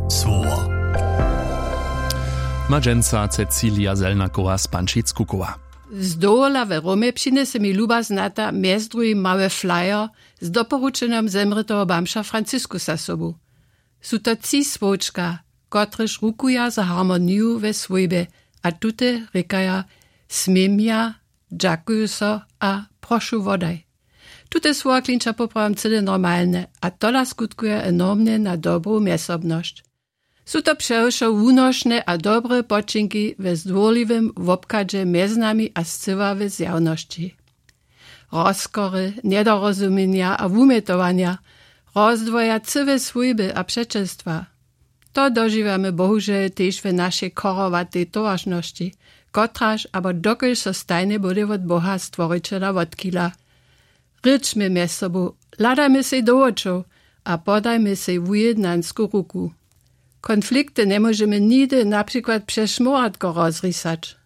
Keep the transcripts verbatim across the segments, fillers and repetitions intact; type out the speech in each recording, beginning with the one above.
Słowo. Ma dźensa Cecilija Zelnakowa z Pančic-Kukowa. Z dowola we Romje přinjese mi luba znata mjez druhim małe flyer z doporučenjom zemrěteho bamža Franciskusa sobu. Su to tři słowčka, kotrež rukuja za harmoniju we swójbje, a tute rěkaja: Směm ja, dźakuju so a prošu wodaj. Tute słowa klinča poprawom cyle normalne, a tola skutkuje enormnje na dobru mjezsobnosć. Su to přewšo wunošne a dobre počinkej we zdwórliwym wobchadźe mjez nami a scyła we zjawnosći. Rozkory, njedorozumjenja a wumjetowanja rozdwoja cyłe swójby a přećelstwa. To dožiwamy bohužel tež we našej chorowatej towaršnosći, kotraž abo dokelž so stajnje bóle wot Boha stworićela wotchila. Rěčmy mjez sobu, hladajmy sej do wočow a podajmy sej wujednansku ruku. Konflikty njemóžemy nihdy na přikład přez šmóratko rozrisać.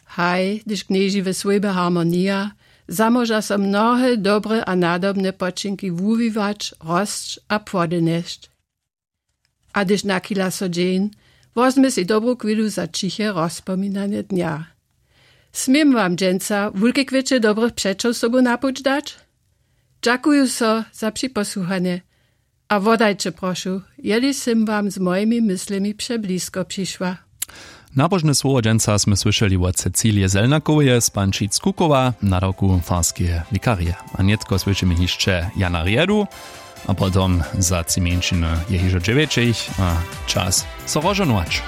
Haj, hdyž knježi we swójbje harmonija, zamóža so mnohe dobre a nadobne počinkej wuwiwać, rosć a płody njesć. A hdyž nachila so dźeń, wozmy sej dobru chwilu za ćiche rozpominanje dnja. Směm wam dźensa wulke kwěće dobrych přećow sobu na puć dać? Dźakuju so za připosłuchanje a wodajće, prošu, jeli sym wam z mojimi myslemi přeblisko přišła. Nabožne słowo dźensa smy słyšeli wot Cecilije Zelnakoweje z Pančic-Kukowa, nadawku farskeje wikarije. A nětko słyšimy hišće Jana Rjedu, a potom za tři mjeńšiny je hižo dźewjećich a čas so rozžohnować.